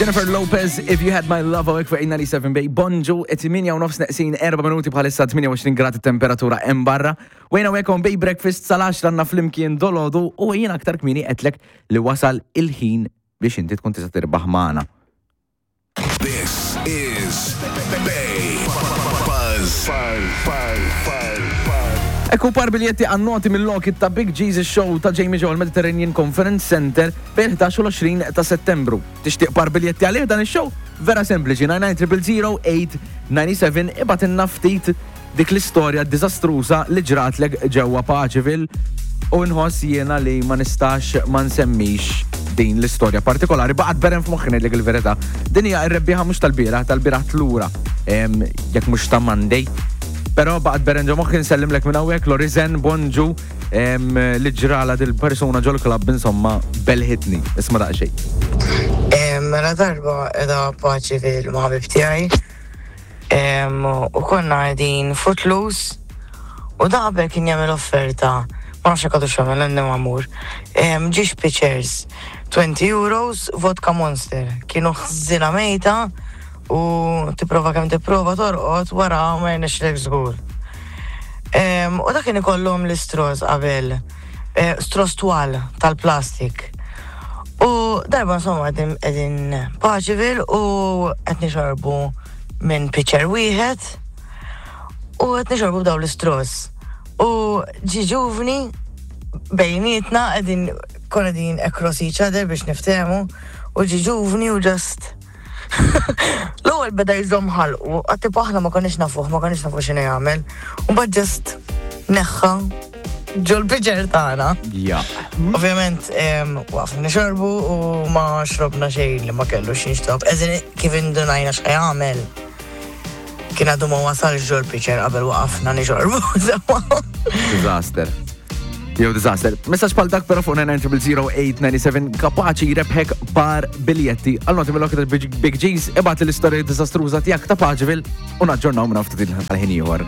Jennifer Lopez, If You Had My Love, għawek fuq 97 Bay, bonġu, 8 u nofs neqsin 4 minuti bħalissa 28 grad temperatura hemm barra. Wejna għawek on Bay Breakfast sal-10 għanna flimkien dolodu u jien aktar kmini għetlek li wasal il-ħin biex inti tkun tista' tirbaħ magħna. This is Bay Buzz. Ekku par biljetti għan-noti mill-lokit ta' Big Jesus Show ta' Jamie Joel Mediterranean Conference Center bejn 11 u l-20 ta' Settembru. Tixtieq par biljetti għalih dan ix-show? Vera sempliċi, 99 ibgħatilna ftit dik l-istorja diżastruża li ġratlek ġewwa Paceville u nħoss jiena li ma nistax ma nsemmix din l-istorja partikolari baqgħet berem f'moħħi ngħidlek il-verità. Din hija r-rebbieħa mhux tal-bieraħ, tal-bieraħ tlura jekk mhux ta' Monday. Però baqgħet berem ġo moħħi nsellimlek minn hawnhekk Lorizen Bonġu li ġrala dil-persuna ġol-klabb insomma belħitni. Isma' daqsxejn. Mela darba qiegħda Paceville ma' ħabib tiegħi U konna qegħdin Footloose u da qabel kien jagħmel offerta, ma nafx jekk għadux jagħmel għandi ma mmur. Ġiex pitchers, 20 euros, vodka Monster. Kienu ħżina mejta u tipprova kemm tipprova torqod wara ma jirnexxilek żgur. U dak kien ikollhom l-istros qabel, eh, stros twal tal-plastik. U darba insomma qegħdin Paceville u qed nixorbu minn pitcher wieħed u qed nixorbu b'daw l-istros. U ġi ġuvni bejnietna qegħdin konna qegħdin across each other biex niftehmu u ġi ġuvni u just L-ewwel beda jżomm ħalqu, għad tipo aħna ma konniex nafuh, ma konniex nafu x'inhu jagħmel. U mbagħad just neħħa ġol-piċer tagħna. Ja. Ovvjament, waqfna nixorbu u ma xrobna xejn li ma kellu xinxtob. Eżin kif indunajna x'ħajamel. Kien għadu ma wasalx ġol-piċer qabel waqafna nixorbu. Disaster. Jew disaster. Messaġġ bħal dak però fuq 9900897 kapaċi jrebħek par biljetti għal noti mill-okta Big G's ibgħat l-istorja disastruża tiegħek ta' Paġvil u naġġornaw minn ftit il-ħin ieħor.